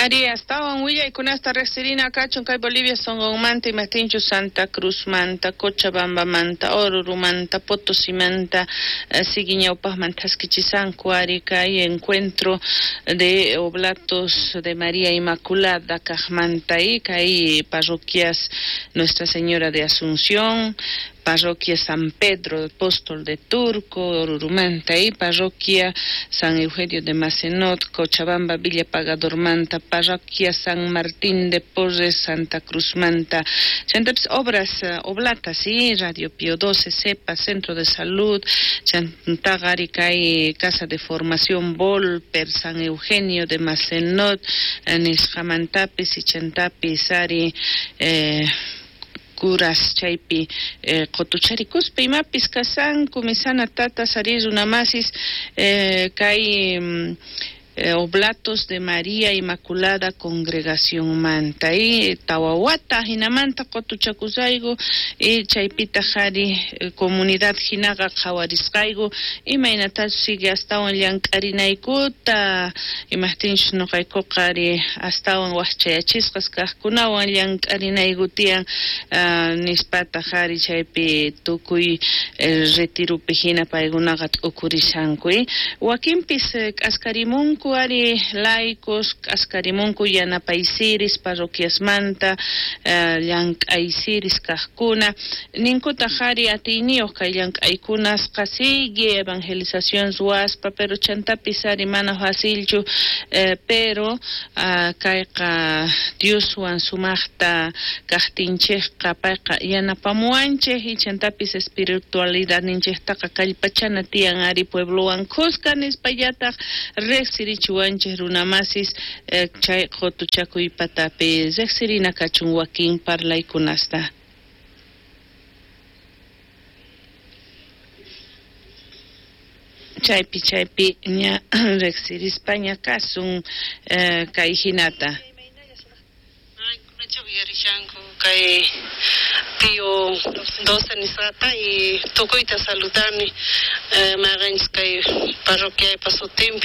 Ari, astawan willaykunasta riqsirina kachun kay Bolivia sonqonmanta, imajtinchu Santa Cruzmanta, Cochabambamanta, Orurumanta, Potosimanta, sigui ñawpaqman thaskichisanku ari kay encuentro de Oblatos de María Inmaculada kaqmanta y kay parroquias Nuestra Señora de Asunción, parroquia San Pedro Apóstol de Turco, Orurumanta y parroquia San Eugenio de Mazenod, Cochabamba, Villa Pagadormanta, parroquia San Martín de Porres, Santa Cruzmanta, chantapis obras oblatas, ¿sí? Radio Pío XII, CEPA, Centro de Salud, chantaqa ari kay Casa de Formación Volper, San Eugenio de Mazenod, nisqamantapis y chantapis ari curas chaypi qotucharikuspa imapis kasanku misana tatas ari runamasis kay Oblatos de María Inmaculada Congregación manta y tawawata hinamanta qotuchakusayku y chaypitaq ari comunidad hinaqa qhawarisqayku imaynatachus sigue astawan llank'arinaykuta imajtinchus nuqaykuqa ari astawan waqchayachisqas kaqkunawan llank'arinayku tiyan nispataq ari chaypi tukuy retiropi hina paykunaqa t'ukurishanku wakinpis k'askarimunku ari laicos k'askarimunku yanapaysiris parroquiasmanta llank'aysiris kaqkuna ninkutaq ari atiyniyuq kay llank'aykunasqa sigue evangelización ruwaspa pero chantapis ari mana facilchu pero kayqa Dioswan sumaqta kaqtinchikqa payqa yanapamuwanchik y chantapis espiritualidadninchiktaqa kallpachana tiyan ari pueblowan khuska nispallataq riqsirichiwanchik runamasis chay qotuchakuypatapi riqsirina kachun wakin parlaykunasta. Chaypi chaypi ña riqsirispaña kasun kay hinata. Uyarishanku kay Pío XII nisqata y tukuyta saludani mayqanchis kay parroquiaypa sutinpi.